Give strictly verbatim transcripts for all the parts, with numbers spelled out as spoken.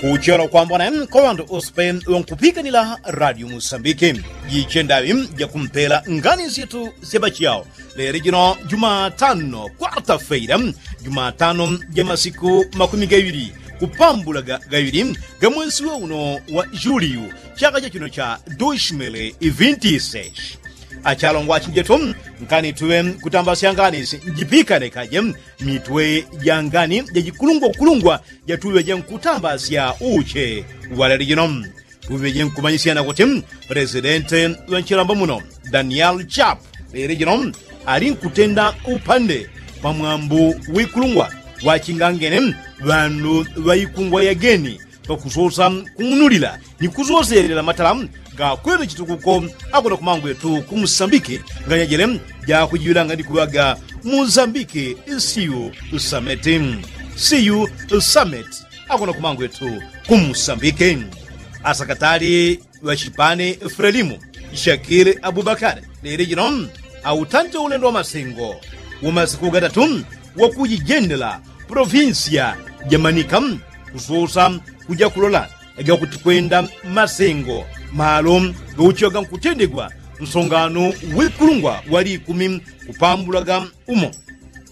Kuchelo kwambona kwa ŵandu ose ŵankupikanila radio musambike. Jiche ndaŵi jakumpela ngani syetu sya ŵachiyao. Lelo jino jumatano kwata feila, jumatano ja masiku makumi gaŵili kupambula gaŵili ga mwesi wa uno wa juliyu, chaka cha chino cha doshimele ivinti seshi. Achalongwa achinjetu, nkani tuŵe kutambasya ngani si njipikane kaje mitwe ja ngani ja jikulungwa kulungwa jatuŵe jenkutambasya uche waleli jino. Tuŵe jenkumanyisyana kuti presidente ŵanchilamba muno daniel chap leli jino ali nkutenda upande pamwambu wikulungwa wachingangene ŵandu ŵaikungwa yageni pakusosa kung'unulila ni kusoselela matala gakwete chitukuko akona kumangwetu kumusambike nganyajele jakujiŵilanga ni kuŵaga musambike siyu sameti siyu sameti akona kumangwetu kumusambike. Asakatali ŵachipani frelimu shakili abubakari lili jino autante ulendo wa masengo wa masiku gatatu wakujijendela polovinsiya ja manika kusosa kuja kulola gakuti kwenda masengo malo gauchiŵaga nkutendegwa nsongano wikulungwa wali ikumi kupambulaga umo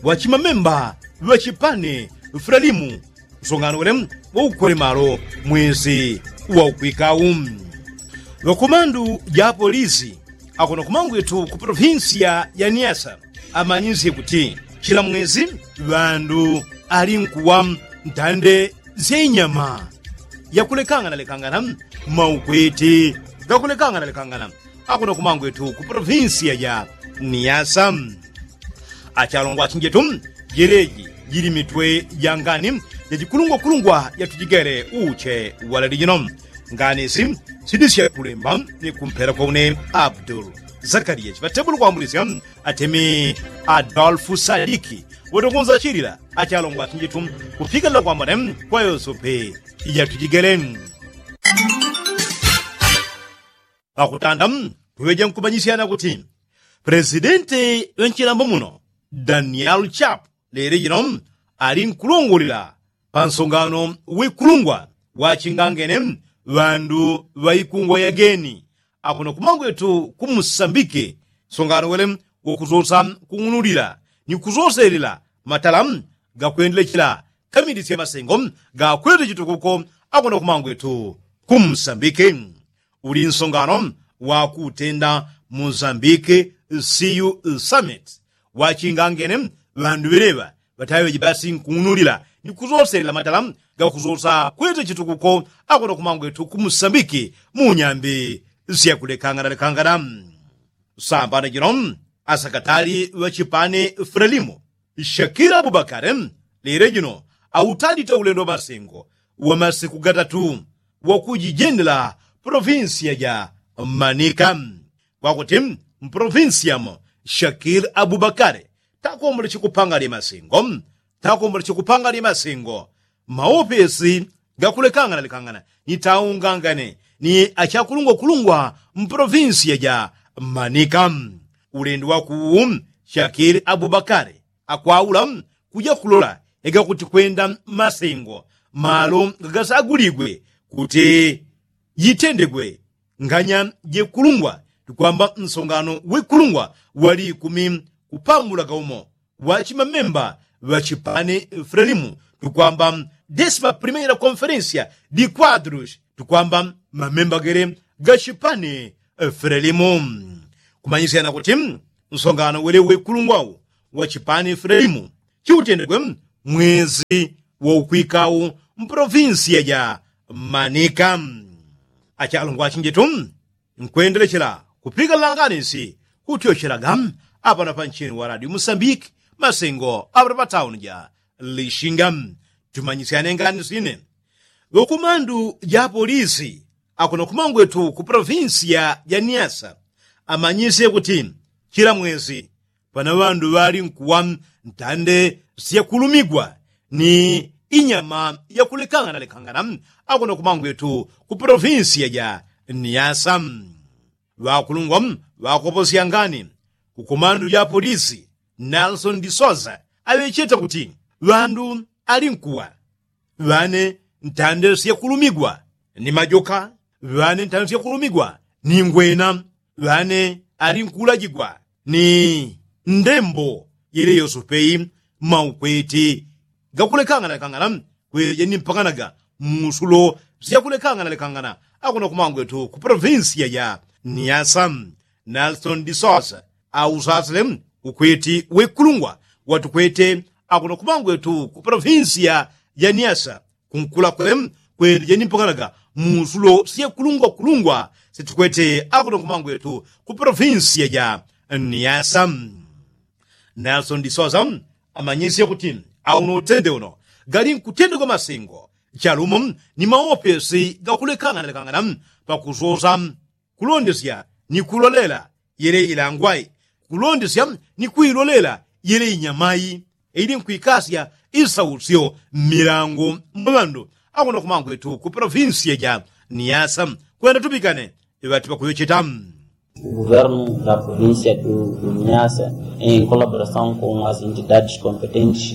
wachimamemba ŵachipani frelimu nsongano wele waukwele malo mwezi waukwikau. Ŵakumandu ja polisi akuno kumangwetu ku polovinsiya ya niasa amanyisye kuti chila mwezi ŵandu ali nkuwa ntande sya inyama yakulekangana lekangana maukweti gakulekangana lekangana akuno kumangwetu ku polovinsiya ya niasa. Achalongwa achinjetu jeleji jili mitwe ja ngani jajikulungwa kulungwa jatujigele uche waleli jino. Ngani si sidi syakulemba ni kumpela kwa une abdul zakariya chiŵatebulu kwambulisya atemi adolfu sadiki wotokunza chilila achalongwa achinjetu kupikanila kwambone kwa yosope ijatujigele. Pakutanda tuŵeje nkumanyisyana kuti pelesidenti ŵanchilambo muno daniel chap leli jino ali nkulongolila pansongano wikulungwa wachingangene ŵandu ŵaikungwa yageni akuno kumangwetu kumusambike nsongano wele wakusosa kung'unulila ni kusoselela matala gakwendele chila kamili sya masengo gakwete chitukuko akuno kumangwetu kumusambike. Uli nsongano wakutenda mozambike siyu summit wachingangene ŵandu ŵeleŵa ŵataŵeji basi nkung'unulila ni kusoselela matala gakusosa kwete chitukuko akuno kumangwetu kumusambike munyambi syakulekangana lekangana. Sambano jino asakatali ŵachipani frelimu shakila abubakari lile jino autandite ulendo wa masengo wa masiku gatatu wakujijendela polovinsiya ja manika kwakuti mpolovinsiyamo shakili abubakali takomboleche kupanga lye masengo takomboleche kupanga lye masengo maopesi gakulekangana lekangana ni taungangane ni achakulungwa kulungwa mpolovinsiya ja manika. Ulendo wakuwu shakili abubakali akwaula kuja kulola egakuti kwenda masengo malo gagasaguligwe kuti jitendegwe nganya jekulungwa tukwamba nsongano wekulungwa wali ikumi kupambulaga umo wachimamemba ŵachipani frelimu tukwamba desima primeira konferensia di kwadrus tukwamba mamemba gele gachipani frelimu kumanyisyana kuti nsongano wele wekulungwa wachipani frelimu chiutendegwe mwezi waukwikau mpolovinsiya ja manika. Achalungwa achinjetu nkwendelechela kupika langanisi kutyochelaga apano panchini wa radio musambiki masengo apano patauni ja lishinga. Tumanyisyane nganisi ine ŵakumandu ja polisi akuno kumangwetu ku polovinsiya ja niasa amanyisye kuti chila mwezi pana ŵandu ŵali nkuwa ntande syakulumigwa ni inyama yakulekangana lekangana akuno kumangwetu ku polovinsiya ja niasa. Ŵakulungwa ŵakoposya ngani kukumandu ja polisi nelson disosa aŵecheta kuti ŵandu ali nkuwa ŵane ntande syakulumigwa ni majoka, ŵane ntande syakulumigwa ni ngwena, ŵane ali nkulajigwa ni ndembo yele yosopeyi maukweti gakulekangana lekangana kweleje ni mpanganaga musulo syakulekangana lekangana. Akuno kumangwetu ku provinsia ja niasa, nelson disosa ausasile ukweti wekulungwa watukwete akuno kumangwetu ku provinsia ja niasa kunkulakule kweleje ni mpanganaga musulo syekulungwa kulungwa setukwete akuno kumangwetu ku provinsia ja niasa. Nelson disosa amanyisye kuti auno utende uno gali nkutendegwa masengo chalumo ni maopesi gakulekangana lekangana pakusosa kulondesya ni kulolela yele ilangwai kulondesya ni kuilolela yele inyamai ili nkwikasya isausyo mmilango mwa ŵandu akuno kumangwetu ku provinsia ja niasa. Kwenda tupikane iŵati pakuŵecheta. O governo da provincia do niasa em colaboração com as entidades competentes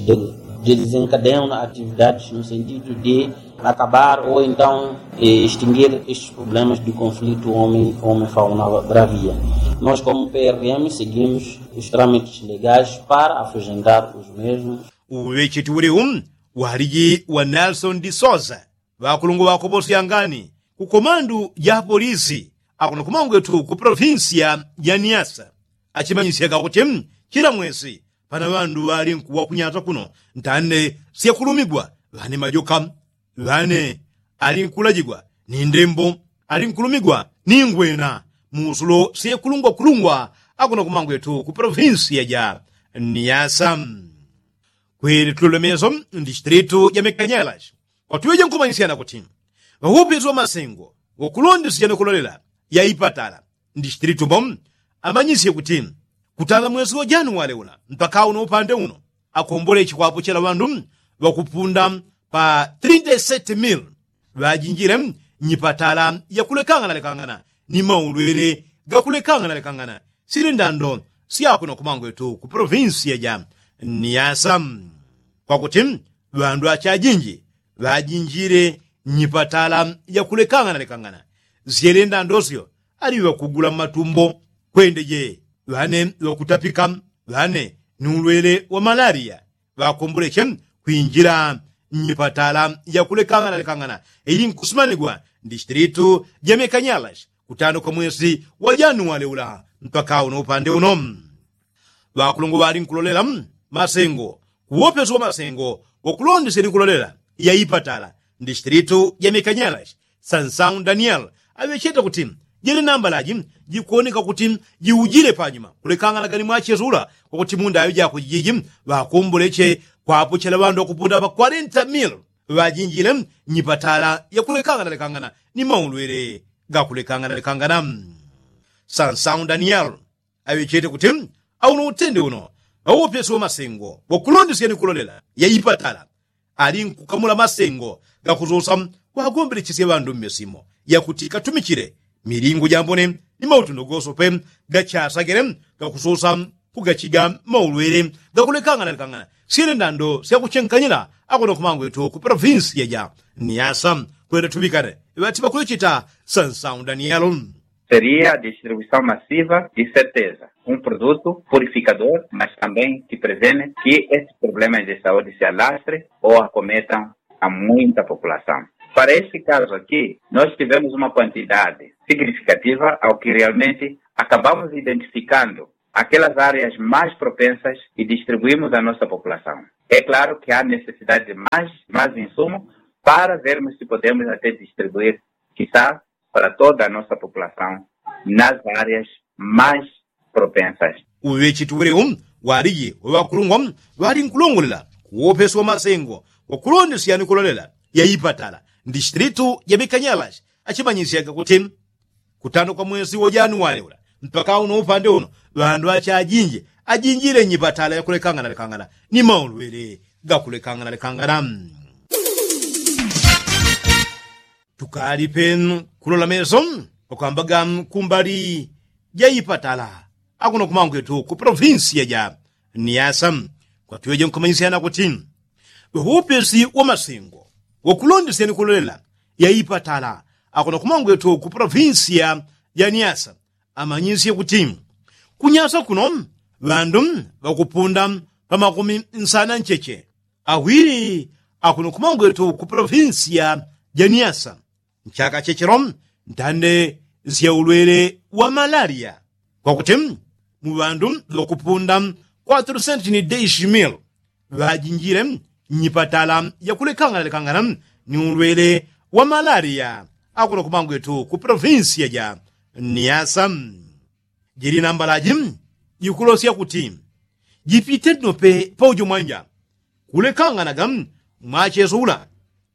de desencadeam atividades no sentido de acabar ou então extinguir estes problemas de conflito homem homem fauna bravia. Nós como prvm seguimos os trâmites legais para afugentar os mesmos. Uŵecheti uliu waliji wa nelson disosa ŵakulungwa ŵakoposyangani ku komandu ja polisi akuno kumangwetu ku provinsia ja niasa achimanyisyaga kuti chila mwesi pana ŵandu ŵali nkuwa kunyata kuno ntande syakulumigwa ŵane majoka ŵane ali nkulajigwa ni ndembo ali nkulumigwa ni ngwena musulo syekulungwa kulungwa akuno kumangwetu ku provinsia ja niasa. Kwili tulolemeso ndistritu ja mikanyalas kwatuŵeje nkumanyisya na kuti ŵawopeso ŵamasengo wakulondesya ni kulolela ya ipatala ndistritu mo amanyisye kuti kutala mwesi wa januwale ula mpaka uno upande uno akombole chikwapo chela ŵandu ŵakupunda pa trinta y sete mil ŵajinjile nyipatala yakulekangana lekangana ni maulwele gakulekangana lekangana sili ndando syakuno kumangwetu ku provinsia ja niasa. Kwakuti ŵandu achajinji ŵajinjile nyipatala yakulekangana lekangana syele ndando syo ali ŵakugula mmatumbo kwendeje ŵane ŵakutapika ŵane ni ulwele wa malaria ŵakomboleche kwinjila nnyipatala yakulekangana lekangana ili nkusimanigwa ndistritu ja mikanyalas kutano kwa mwesi wa januwale ula mpaka uno upande uno. Ŵakulungwa ŵali nkulolela masengo kuwopeso wa masengo wakulondesya ni kulolela ya ipatala ndistritu ja mikanyalas sansau daniel aŵecheta kuti jili nambalaji jikuwoneka kuti jiujile panyuma kulekangana gani mwachesula kwakuti mundaŵe jako jijiji ŵakomboleche kwapochela ŵandu ŵakupunda pa kwarenta mil ŵajinjile nyipatala yakulekangana lekangana ni maulwele gakulekangana lekangana. Sansau daniel aŵechete kuti auno utende uno ŵawopesi wa masengo wakulondesya ni kulolela ya ipatala ali nkukamula masengo gakusosa kwagombelechesya ŵandu mmesimo yakuti katumichile milingu jambone ni mautundo gosope gachasagele gakusosa kugachiga maulwele gakulekangana lekangana syele ndando syakuchenkanyila akuno kumangwetu ku provinsia ja niasa. Kwenda tuŵikane ŵati ŵakulecheta sansau daniel. Seria a distribuição massiva de certeza um produto purificador mas também que prevene que estes problemas de saúde se alastre ou acometam a muita população. Para este caso aqui nós tivemos uma quantidade significativa ao que realmente acabamos identificando aquelas áreas mais propensas e distribuímos a nossa população. É claro que há necessidade de mais mais insumo para vermos se podemos até distribuir quiçá para toda a nossa população nas áreas mais propensas. Uŵechiti uŵelewu waliji waŵakulungwa ŵali nkulongolela kuwopesi wa masengo wakulondesya ni kulolela ya ipatala ndistritu ja mikanyalashi achimanyisyaga kuti kutano kwa mwesi wa januwali ula mpaka uno upande uno ŵandu achajinji ajinjile nyipatala yakulekangana lekangana ni maulwele gakulekangana lekangana. Tukali penu kulola meso pakwambaga kumbali ja ipatala akuno kumangwetu ku provinsia ja niasa kwatuŵeje nkumanyisya na kuti ŵaupesi wa masengo Wakulondesya ni kulolela ya ipatala akuno kumangwetu ku polovinsiya ya niasa amanyisye kuti kunyasa kuno ŵandu ŵakupunda pa makumi nsana ncheche awili akuno kumangwetu ku polovinsiya ja niasa nchaka chechelo ntande sya ulwele wa malaliya kwakuti mu ŵandu ŵakupunda kwatru senti ni deishi mil ŵajinjile nnyipatala yakulekanganalekangana ni ulwele wa malaliya akuno kumangwetu ku polovinsiya ja niasa. Jili nambalaji jikulosya kuti jipite nope paujo mwanja kulekanganaga mwacheso ula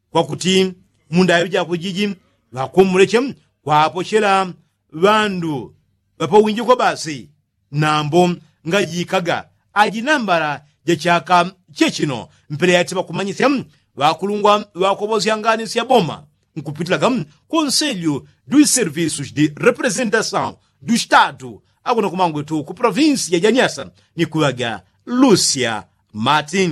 kwakuti mundaŵi jakwe jiji ŵakumbuleche kwapochela ŵandu ŵapawinjikwa basi nambo ngajikaga aji nambala ja chaka chechino mpele yati ŵakumanyisya ŵakulungwa ŵakobosya ngani sya boma nkupitilaga konselyu du servisus di representasaw du statu akuno kumangwetu ku polovinsiya ja niasa ni kuŵaga lusia mati.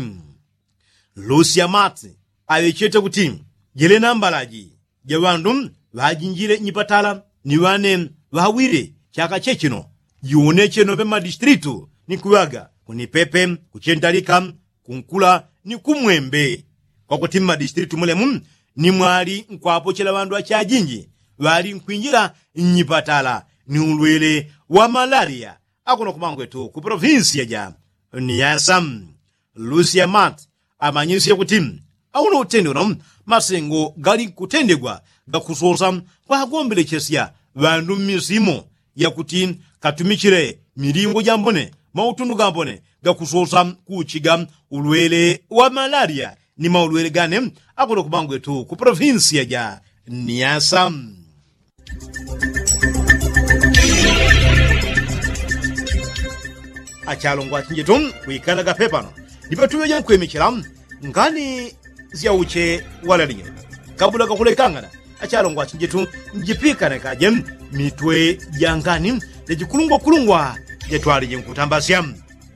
Lusia mati aŵechete kuti jele nambalaji ja ŵandu ŵajinjile nyipatala ni ŵane ŵawile chaka chechino jiwoneche nope mmadistilitu ni kuŵaga kunipepe kuchentalika kunkula ni kumwembe kwakuti mmadistilitu mulemu ni mwali nkwapochela ŵandu achajinji ŵali nkwinjila nnyipatala ni ulwele wa malaliya akuno kumangwetu ku polovinsiya ja niasa. Lusia mati amanyisye kuti auno utende uno masengo gali nkutendegwa gakusosa kwagombelechesya ŵandu mmisimo yakuti katumichile milingo jambone mautundu gambone gakusosa kuuchiga ulwele wa malaliya ni maulwele gane akuno kumangwetu ku polovinsiya ja niasa. Achalongwa achinjetu kwikalaga pepano ndipetuŵeja nkwimichila ngani syauche walalinyo kabula kakulekangana achalongwa achinjetu njipikanekaje mitwe ja ngani jajikulungwakulungwa jatwalije nkutambasya.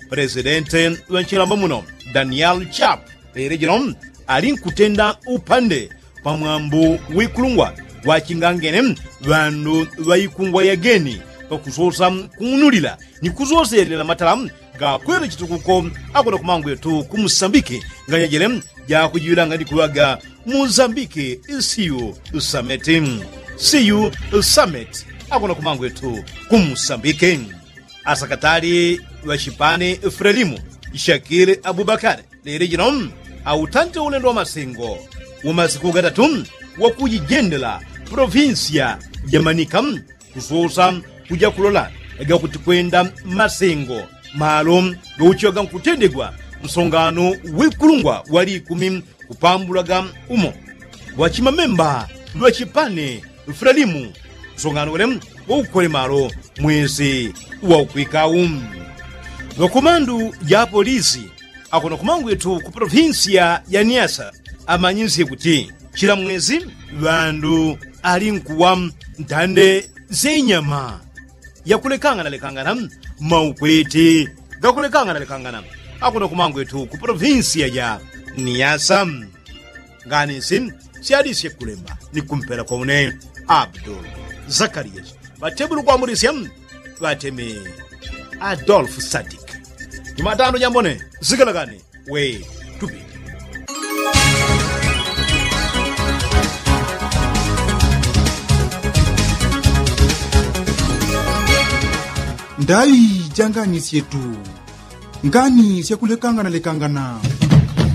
Pelesidenti ŵa nchilamba muno daniel chap lelo jino ali nkutenda upande pamwambo wikulungwa wachingangene ŵandu ŵaikungwa yageni pakusosa kung'unulila ni kusoselela matala gakwele chitukuko akona kumangwetu kumusambiki nganyajele jakujiŵilanga ni kuŵaga musambiki siyu sameti siyu sameti akona kumangwetu kumusambiki. Asakatali ŵa chipani frelimu shakili abubakali lili jino autante ulendo wa masengo wa masiku gatatu wakujijendela polovinsiya ja manika kusosa kuja kulola gakuti kwenda masengo malo gauchiwaga nkutendegwa msongano wikulungwa wali ikumi kupambulaga umo wachimamemba lwa chipani frelimu msongano wele waukole malo mwezi waukwikau. Ŵakumandu ja polisi akuno kumangwetu ku polovinsiya ya niasa amanyisye kuti chila mwezi ŵandu ali nkuwa ntande sya inyama yakulekanganalekangana maukweti gakulekanganalekangana akuno kumangwetu ku polovinsiya ja niasa. Ngani nsi syalisye kulemba ni kumpela kwa une abdul zakariya ŵatebulu kwamulisya ŵateme adolfu sadik jumatano jambone zikalakane we tupili. Ndaŵi ja ngani syetu ngani syakulekanganalekangana.